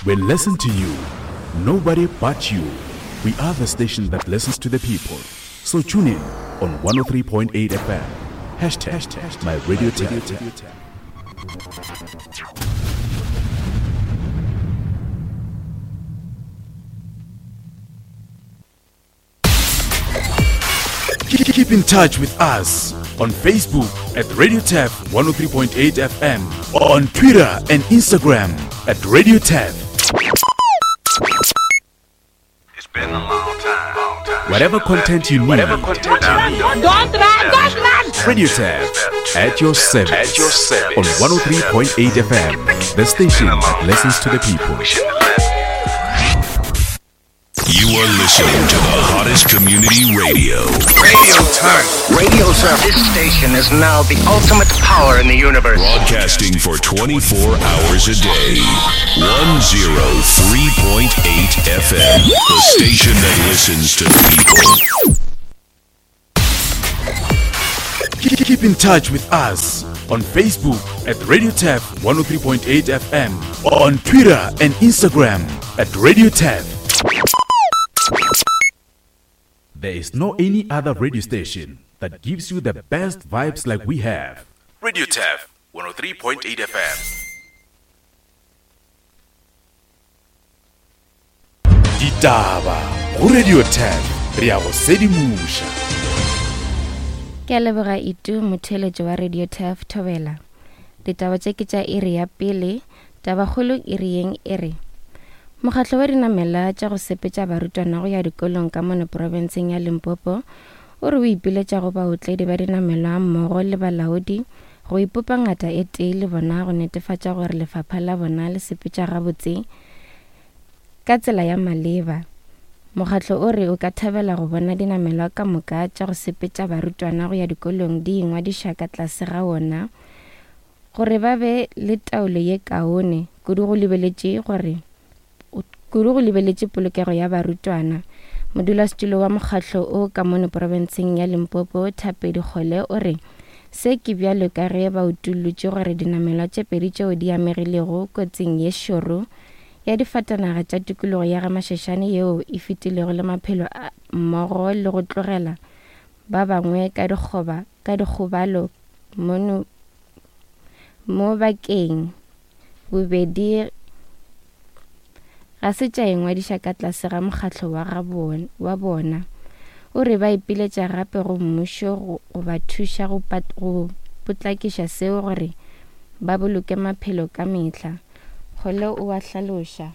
We listen to you. Nobody but you. We are the station that listens to the people. So tune in on 103.8 FM. Hashtag my radio tap. Keep in touch with us on Facebook at Radio Tap 103.8 FM, on Twitter and Instagram at Radio Tap. Whatever content you need. Whatever content you need. Don't run, don't run! Radio Tap at your service. At your service. On 103.8 FM, the station that listens to the people. You are listening to the hottest community radio. Radio Turf. Radio Turf. This station is now the ultimate power in the universe. Broadcasting for 24 hours a day. 103.8 FM. The station that listens to the people. Keep in touch with us on Facebook at Radio Tap 103.8 FM, on Twitter and Instagram at Radio Tap. There is no any other radio station that gives you the best vibes like we have. Radio Tap 103.8 FM. Ditaba go Radio Tap re ya go sedimoša. Ke a leboga Itu motheeletši wa Radio Turf Thobela. Ditaba tše ke tša iri ya pele, tabakgolo iri yeng e re Mokgatlo wa dinamela tša go sepetša barutwana go ya dikolong ka mono profenseng ya Limpopo o re o ipiletša go baotledi ba dinamelwa mmogo le balaodi go ipopa ngata e tee le bona go netefatša gore lefapha la bona le sepetša gabotse ka tsela ya maleba. Mokgatlo o re o ka thabela go bona dinamelwa ka moka tša go sepetša barutwana go ya dikolong di ingwadiša ka tlase ga wona gore ba be le taolo ye kaone kudu go lebeletše gore kudu go lebeletše polokego ya barutwana. Modulasetulo wa mokgatlo o ka mono profenseng ya Limpopo, Thapedi Kgole o re se ke bjalo ka ge ba utullotše gore dinamelwa tše pedi tšeo di amegilego kotsing ye šoro ya difatanaga tša tikologo ya GaMashashane yeo e fetilego le maphelo a mmogo le go tlogela ba bangwe ka dikgoba ka dikgobalo mono mo bakeng bobedi ga se tša ingwadiša ka tlase ga mokgatlo wa ga bona, wa bona. O re ba ipiletša gape go mmušo go, go ba thuša go, pat, go potlakiša seo gore ba boloke maphelo ka mehla. Kgole o a hlaloša.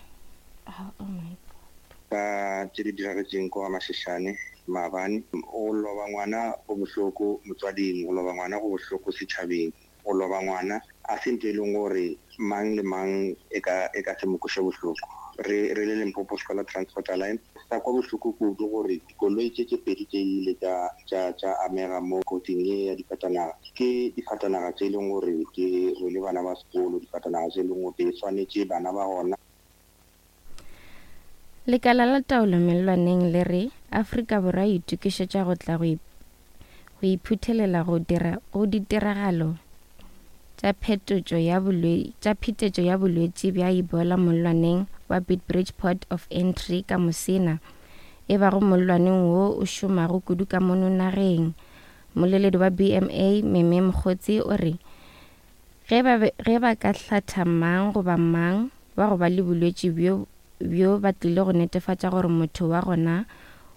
Oh, oh my God. Ka tše di diragetšeng kwa Mashishane maabane. Go loba ngwana go bohloko motswading, go loba ngwana go bohloko setšhabeng. Go loba ngwana a se ntho e leng gore mang le mang e ka e ka se mo kweše bohloko. Re re le Limpopo Scholar Transport Alliance re sa kwa bohloko kudu gore dikoloi tše tše pedi tše di ile tša tša tša amega mo kotsing ye ya difatanaga. Ke difatanaga tše e leng gore di rwele bana ba sekolo, difatanaga tše e leng gore di swanetše bana ba gona. Lekala la taolo mellwaneng le re Afrika Borwa e itokišetša go tla go go iphuthelela go dira go ditiragalo tša phetotšo ya bolwe tša phetetšo ya bolwetši bja Ebola mollwaneng wa Beitbridge Port of Entry ka Musina, e bago mollwaneng wo o šomago kudu ka mono nageng. Mmoleledi wa BMA Meme Mokgotsi o re Ge ba be, ge ba ka hlatha mang goba mang wa go ba le bolwetši bjo, bjo ba tlile go netefatša gore motho wa gona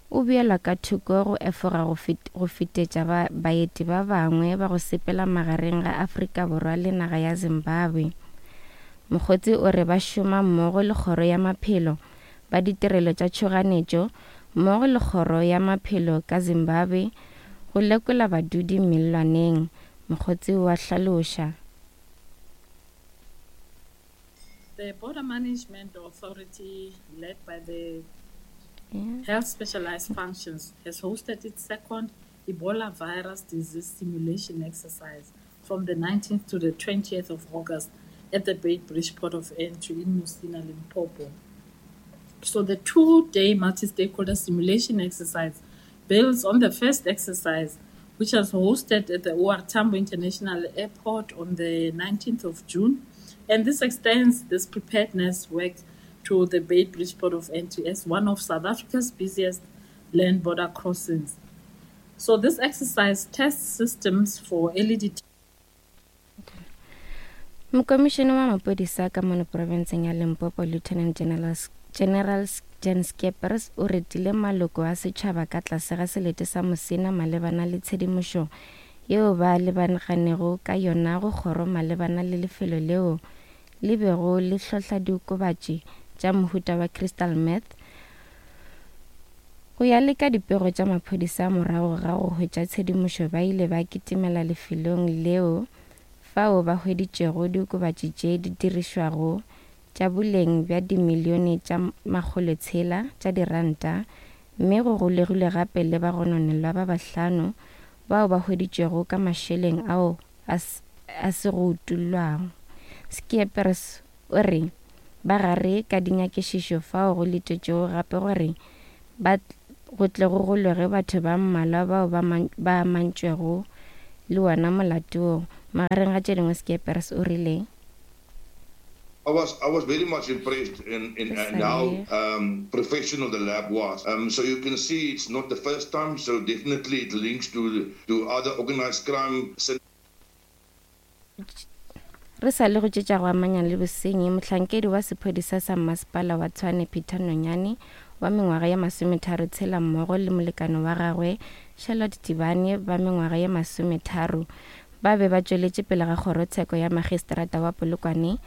o beelwa ka thoko go efoga go fet, go fetetša ba, baeti ba bangwe ba go sepela magareng ga Afrika Borwa le naga ya Zimbabwe. Mokgotsi o re ba šoma mmogo le Kgoro ya Maphelo, ba ditirelo tša tšhoganetšo mmogo le Kgoro ya Maphelo ka Zimbabwe go lekola badudi mellwaneng Mokgotsi o a hlaloša. The Border Management Authority, led by the Health Specialized Functions, has hosted its second Ebola virus disease simulation exercise from the 19th to the 20th of August at the Beitbridge Port of Entry in Musina, Limpopo. So the two-day multi-stakeholder simulation exercise builds on the first exercise, which was hosted at the OR Tambo International Airport on the 19th of June. And this extends this preparedness work to the Beitbridge Port of Entry as one of South Africa's busiest land border crossings. So this exercise tests systems for early detection. Mokomišene wa maphodisa ka mono profenseng ya Limpopo Lieutenant General, General Jan Skeepers o retile maloko a setšhaba ka tlase ga selete sa Musina malebana le tshedimošo yeo ba lebaganego ka yona go kgoro malebana le lefelo leo le bego le hlohla diokobatši tša mohuta wa crystal meth. Go ya le ka dipego tša maphodisa morago ga go hwetša tshedimošo ba ile ba kitimela lefelong leo fao ba hweditšego diokobatši tše di dirišwago tša boleng bja dimilione tša makgolotshela tša diranta mme go golegilwe gape le bagononelwa ba bahlano bao ba hweditšwego ka mašeleng ao a se go utollwago. Scheepers o re ba gare ka dinyakišišo fao go letetšwego gape gore ba go tle go golege batho ba mmalwa bao ba ba amantšwego le wona molato wo. Magareng ga tše dingwe Scheepers o rile. I was I was very much impressed in in, in how um, professional the lab was. Um, so you can see it's not the first time. So definitely it links to to other organized crime. Re sa le go tše tša go amanya le bosenyi, mohlankedi wa sephodisa sa mmasepala wa Tshwane Peter Nonyane wa mengwaga ye masometharotshela mmogo le molekane wa gagwe Charlotte Tibane ba mengwaga ye masometharo ba be ba tšweletše pele ga kgorotsheko ya magistrata wa Polokwane.